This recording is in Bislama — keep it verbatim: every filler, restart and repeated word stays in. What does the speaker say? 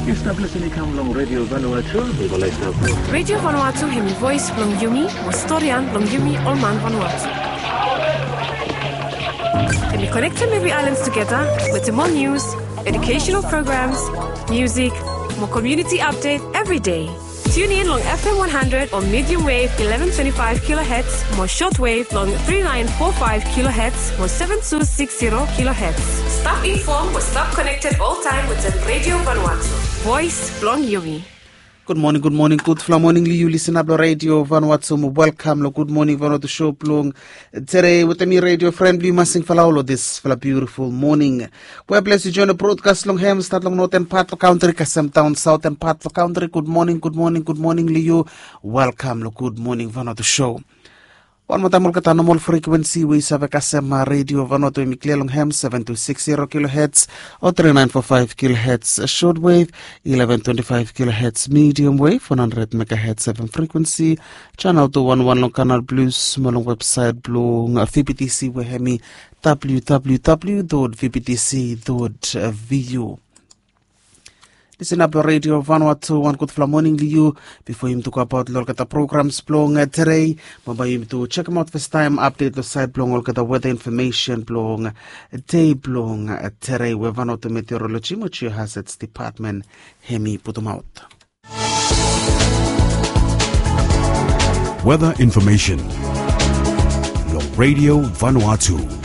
Yu stap lisin i kam long Radio Vanuatu. Radio Vanuatu hemi voes blong yumi, mo storian blong yumi ol man Vanuatu. Hemi konektem evri aelan tugeta wetem ol nius, educational programs, music, mo community update every day. Tune in long F M one hundred o medium wave eleven twenty-five kilohertz mo short wave long three nine four five kilohertz mo seven two six zero kilohertz. Stap inform mo stap connected all time wetem Radio Vanuatu. Voes blong yumi. Gud moning, gud moning, gudfala moning long yu lisin ap long Radio Vanuatu. Welkam long Gud Moning Vanuatu show blong today wetem mi radio fren blong yu Masingfala long disfala biutiful moning. We ples yu join long brodkas long hem, stat long noten pat long kantri kasem daon saoten pat long kantri. Gud moning, gud moning, gud moning long yu. Welkam long Gud Moning Vanuatu show. Wan moa taem olgeta nomol frekuensi we yu save kasem, a, Radio Vanuatu, hemi klia long hem seven two six zero kilohertz o three nine four five kilohertz short wave, eleven twenty-five kilohertz medium wave, one hundred megahertz F M frekuensi, channel two one one long Canal Plus mo long websaet blong V B T C we hemi W W W dot V B T C dot V U. Lisin ap long Radio Vanuatu, wan gudfala moning long yu. Bifo yumi tu go abaot long olgeta programs blong, a, today, bambae yumi tu jekemaot fastaem apdet long saed blong olgeta weta infomesen blong, a, dei blong, a, today we Vanuatu Meteorology mo Geohazards Department hemi putumaot. Weather information long Radio Vanuatu.